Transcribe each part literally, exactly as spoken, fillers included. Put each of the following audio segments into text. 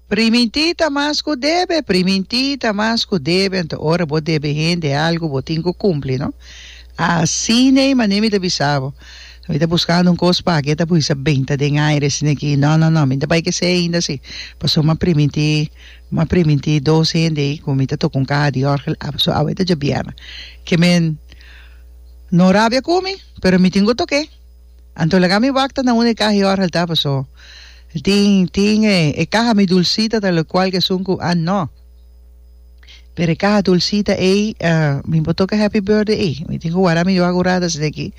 Primintí ta mas ku debe, primintí ta mas ku debe, anto ora bo debe hende algu bo tin ku kumpli, no? Asina ei manera mi ta bisa bo. Mi ta buskando un kos pa ke ta bisa benta den aire asina aki. No, no, no, mi ta bai kesei ainda si. Pasobra mi a primintí, mi a primintí dos hende ei ku mi ta toka un kaha di òrgel, pasobra awe ta djabièrnè. Ke men no rabia ku mi, pero mi tin ku tok'é. Anto laga mi wak ta na unda e kaha di òrgel ta, pasobra tin, tin e, e kaha mi dulsita ta lokual ku esun ku, ah no. Pero e kaha dulsita ei, mi por toka happy birthday ei. Mi tin ku wara mi wak un rato asina aki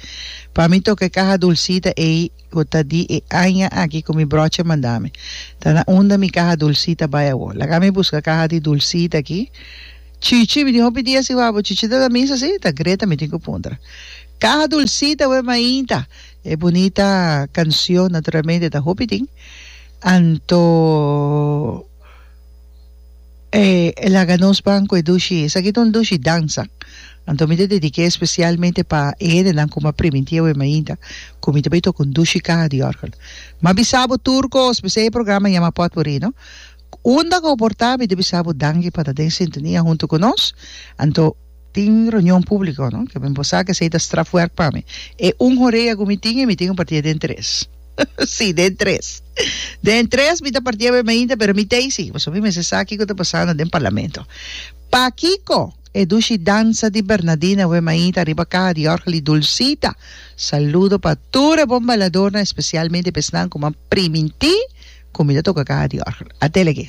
pa mi toka e kaha dulsita ei ku ta di e aña aki ku mi brochi a manda mi. Ta na unda mi kaha dulsita bai awor. Laga mi buska kaha di dulsita aki. Chichi, mi tin hopi dia sin wak bo. Chichi ta na misa si? Ta Greta mi tin ku puntra. Kaha dulsita wee mainta. E bunita kansion naturalmente ta hopi tin. Anto. E laga nos ban ku e dushi, esaki ta un dushi dansa. Anto mi ta dedik'é espesialmente pa e hendenan ku mi a primintí awe mainta ku mi ta bai toka un dushi kaha di òrgel. Mi a bisa bo tur kos, p'esei e programa yama Pòtpurrí, no? Unda ku bo por ta, mi ta bisa bo danki pa ta den sintonia huntu ku nos. Anto tin reunion públiko, no? Ke mi por sa ku esei ta strafwerk pa mi. E un horea ku mi tin e mi tin ku partié den tres. Sí, den tres. Den tres mi ta partia be mainta, pero mi tei sí, pasobra mi mester sa kiko ta pasando den parlamento. Pakiko e dushi dansa di Bernadina we mainta riba kaha di òrgel di Dulcita? Saludo pa tur e bon bailadornan, espesialmente pa esnan ku m'an primintí ku mi ta toka kaha di òrgel. Atelege.